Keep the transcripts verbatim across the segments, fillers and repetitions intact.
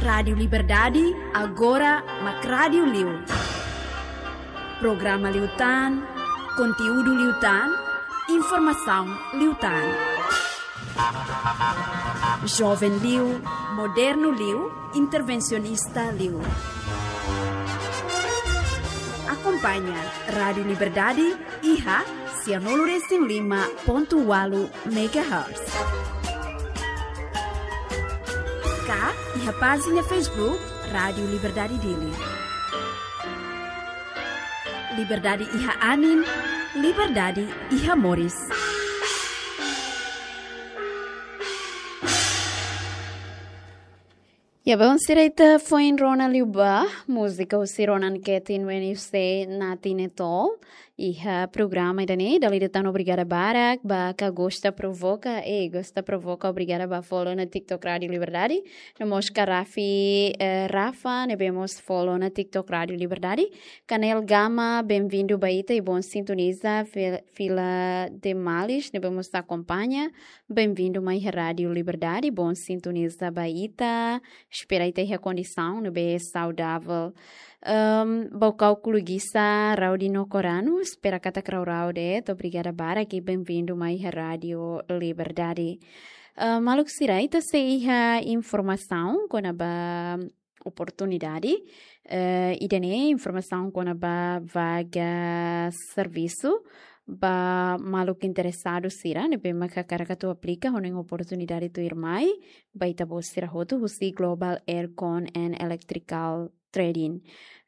Rádiu Liberdade, agora mak rádiu liu. Programa liután, konteúdu liután, informasaun liután. Joven liu, modernu liu, intervensionista liu. Akompaña Rádiu Liberdade iha sianulu resin lima pontu ualu megahertz. Ka iha pájina Facebook Rádiu Liberdade Dili. Liberdade iha anin, liberdade iha moris. Ya, bom, sira ita foin rona liu ba múzika husi Ronan Ketin, When You Say Nothing at All. Iha programa ida-ne'e, dala ida tan obrigada barak ba Ka Gosta Provoka, eh, Gosta Provoka, obrigada ba follow ona TikTok Rádiu Liberdade. No mós ka Rafi, eh, Rafa, ne'ebé mós follow ona TikTok Rádiu Liberdade. Kanel Gama, bem-vindu ba ita i bom sintoniza. Fil-, Fila de Malis, ne'ebé mós akompaña. Bem-vindu mai iha Rádiu Liberdade, bom sintoniza ba ita. Espera ita iha kondisaun ne'ebé saudavel. Ehm, Baucau Kulugisa, Raudi no Koranu, espera katak rau-rau de'it, obrigada barak i bem-vindu mai iha Rádiu Liberdade. Eh, maluk sira, ita sei iha informasaun kona-ba oportunidade, eh, ida-ne'e informasaun kona-ba vaga servisu ba maluk interesadu sira ne'ebé mak hakarak atu aplika hanoin oportunidade tuirmai ba ita-boot sira hotu husi Global Aircon and Electrical Trading.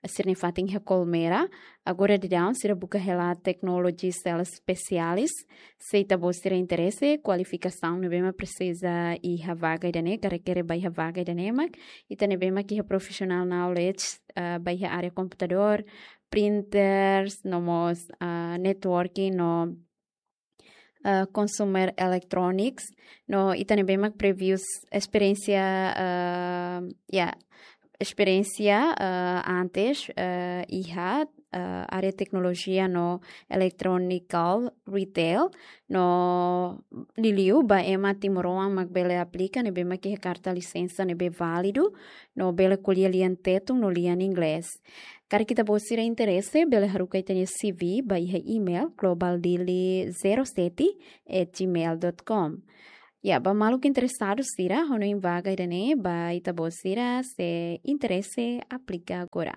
Sira-nia fatin iha Colmera, agora daudaun sira buka hela technology sales specialist. Se ita-boot sira interese, kualifikasaun ne'ebé mak presiza iha vaga ida-ne'e, ka rekere ba iha vaga ida-ne'e mak, ita ne'ebé mak iha professional knowledge, ah, ba iha área komputadór, printers, no mós, ah, networking, no, ah, consumer electronics, no ita ne'ebé mak previous esperiénsia, ah, ya, esperiénsia, ah, antes, ah, iha, ah, área teknolojia no electronical retail, no liuliu ba ema timoroan mak bele aplika, ne'ebé mak iha karta lisensa ne'ebé válidu, no bele ko'alia lian Tetun no lian Inglés. Karik ita-boot sira interese, bele haruka ita-nia C V ba iha email globaldili zero sete at gmail dot com. Ya, ba maluk interesadu sira hanoin vaga ida-ne'e, ba ita-boot sira se interese aplika agora.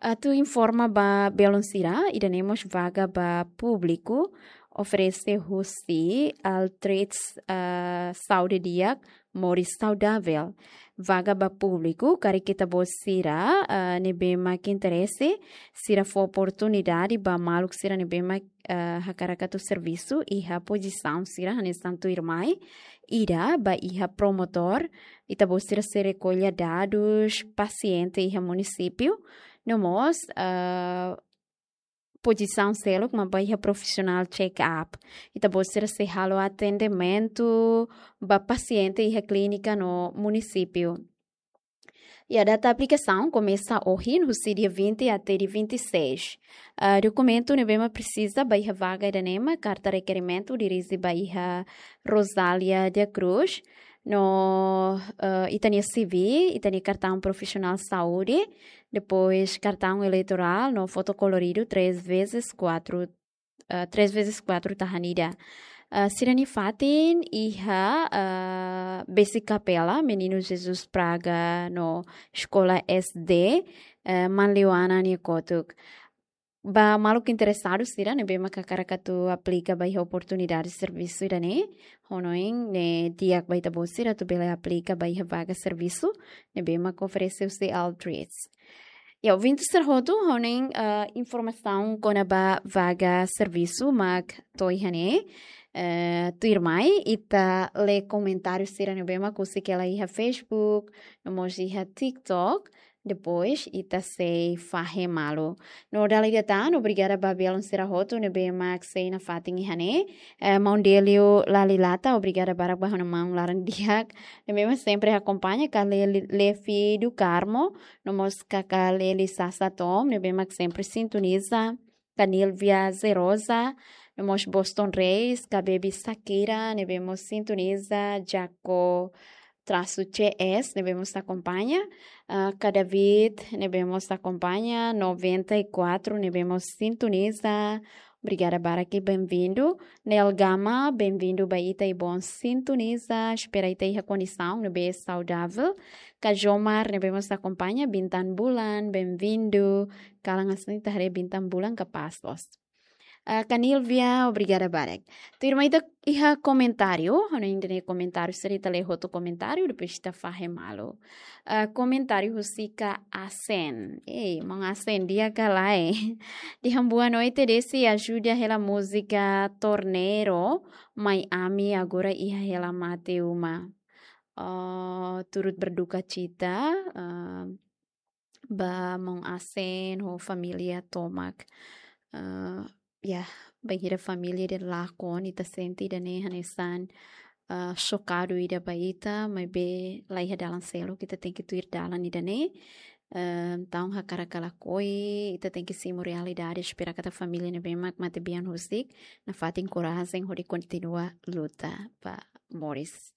Atu informa ba belun sira, ida-ne'e mós vaga ba públiku, oferese husi Altrades, ah, Saúde Di'ak, Moris Saudavel. Vaga ba públiku, karik ita-boot sira, ah, ne'ebé mak interese, sira fó oportunidade ba maluk sira ne'ebé mak, ah, hakarak atu servisu iha pozisaun sira hanesan tuirmai, ida ba iha promotór, ita-boot sira sei rekolla dadus pasiente iha munisípiu, no mós, ah, pozisaun seluk mak ba iha profesional check-up. Ita-boot sira sei halo atendimentu ba pasiente iha klínika no munisípiu. Ya, data aplikasaun komesa ohin, husi dia vinte até dia vinte e seis. Ah, dokumentu ne'ebé mak presiza ba iha vaga ida-ne'e mak karta rekerimentu dirije ba iha Rosália da Cruz. No, eh, ita-nia C V, ita-nia kartaun profisionál saúde, depois kartaun eleitorál, no foto koloridu três vezes quatro, eh, três vezes quatro tahan ida. Eh, sira-nia fatin iha, eh, Besik Kapela, Menino Jesus Praga, no Eskola S D, eh, Manleuana nia kotuk. Ba maluk interesadu sira ne'ebé mak hakarak atu aplika ba iha oportunidade servisu ida-ne'e, hanoin ne'e di'ak ba ita-boot sira atu bele aplika ba iha vaga servisu ne'ebé mak oferese husi Altrades. Ya, ouvinte sira hotu, hanoin, ah, informasaun kona-ba vaga servisu mak to'o iha ne'e, eh, tuirmai ita lee komentáriu sira ne'ebé mak husik hela iha Facebook, no mós iha TikTok, depois ita sei fahe malu. No dala ida tan, obrigada ba belun sira hotu ne'ebé mak sei nafatin iha ne'e. Eh, maun Delio Lalilata, obrigada barak ba ha'u-nia maun laran di'ak ne'ebé mak sempre akompaña, ka Leli, Levi do Carmo, no mós kaká Leli Sasa Tom, ne'ebé mak sempre sintoniza, ka Nilvia Zerosa, no mós Boston Reis, ka Baby Sakira, ne'ebé mós sintoniza, Jaco trasu C S, ne'ebé mós akompaña. Ah, Ka David, ne'ebé mós akompaña. Noventa e quatro, ne'ebé mós sintoniza. Obrigada barak, bem-vindo. Nel Gama, bem-vindo ba ita i bom sintoniza. Espera ita iha kondisaun ne'ebé saudavel. Ka Jomar, ne'ebé mós akompaña. Bintan Bulan, bem-vindo. Kalan hanesan ita haree Bintan Bulan kapás loos. Ah, Ka Nilvia, obrigada barak. Tuirmai ita iha komentáriu, ha'u hanoin ida-ne'e komentáriu, sira ita lee hotu komentáriu, depois ita fahe malu. Ah, komentáriu husi Ka Asen. Ei, maun Asen, di'ak ka lae? Dehan boa noite, Desi, ajuda hela múzika Torneiro, mai ami agora iha hela mate uma. Ah, turut berduka cita, ah, ba maun Asen ho família tomak. Ah, ya, bainhira família ida lakon, ita sente ida-ne'e hanesan, ah, xokadu ida ba ita, maibé laiha dalan seluk, ita tenke tuir dalan ida-ne'e. Ah, entaun hakarak ka lakohi, ita tenke simu realidade, espera katak família ne'ebé mak matebian husik, nafatin korajen hodi kontinua luta ba moris.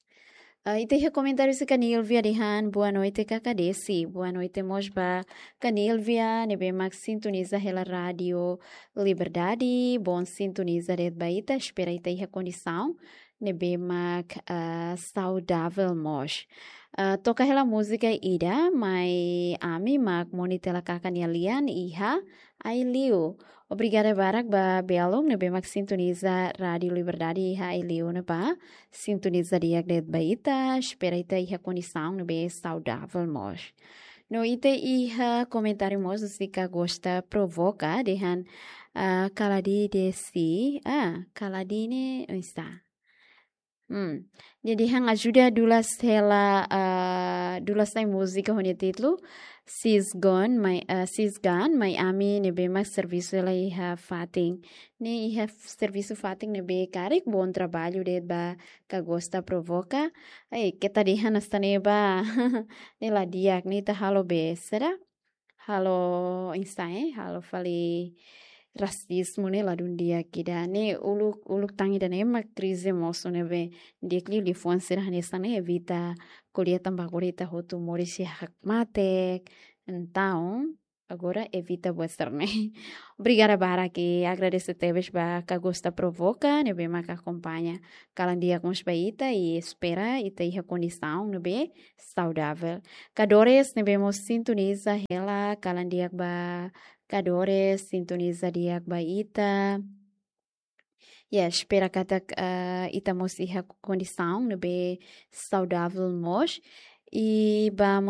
Ah, ita iha komentáriu husi Ka Nilvia dehan, boa noite, Kaka Desi. Boa noite mós ba Ka Nilvia, ne'ebé mak sintoniza hela Rádio Liberdade. Bom sintoniza de'it ba ita, espera ita iha kondisaun ne'ebé mak, ah, saudavel mós. Ah, toka hela múzika ida, mai ami mak moni tela kaka nia lian iha Aileu. Obrigada barak ba belun ne'ebé mak sintoniza Rádio Liberdade iha Aileu ne'ebá. Sintoniza di'ak de'it ba ita, espera ita iha kondisaun ne'ebé saudavel mós. No ita iha komentáriu mós husi Ka Gosta Provoka, dehan, ah, Ka Ladi Desi, ah, Ka Ladi ne'e, oinsá. Hmm. Nia dehan ajuda dulas hela, ah, dulas ai múzika ho nia títulu Sisgon, mai, ah, Sisgan, mai ami ne'ebé mak servisu hela iha fatin. Ne'e iha f-, servisu fatin ne'ebé karik, bom trabalho de'it ba Ka Gosta Provoka. Ai, keta dehan hanesan ne'e ba. Ne'e la di'ak, ne'e ita halo be, será? Halo oinsá, eh? Halo fali rasizmu ne'e ladún di'ak ida. Ne'e uluk, uluk tan ida-ne'e mak krize mosu ne'ebé di'ak liu liafuan sira hanesan ne'e evita ko'alia tanba agora ita hotu moris iha hakmatek. Entaun, agora evita buat sira-ne'e. Obrigada barak i agradese tebes ba Ka Gosta Provoka ne'ebé mak akompaña. Kalan di'ak mós ba ita i espera ita iha kondisaun ne'ebé saudavel. Ka Dores ne'ebé mós sintoniza hela, kalan di'ak ba Ka Dores, sintoniza di'ak ba ita. Ya, espera katak, eh, ita mós iha kondisaun ne'ebé saudavel mós. I ba mós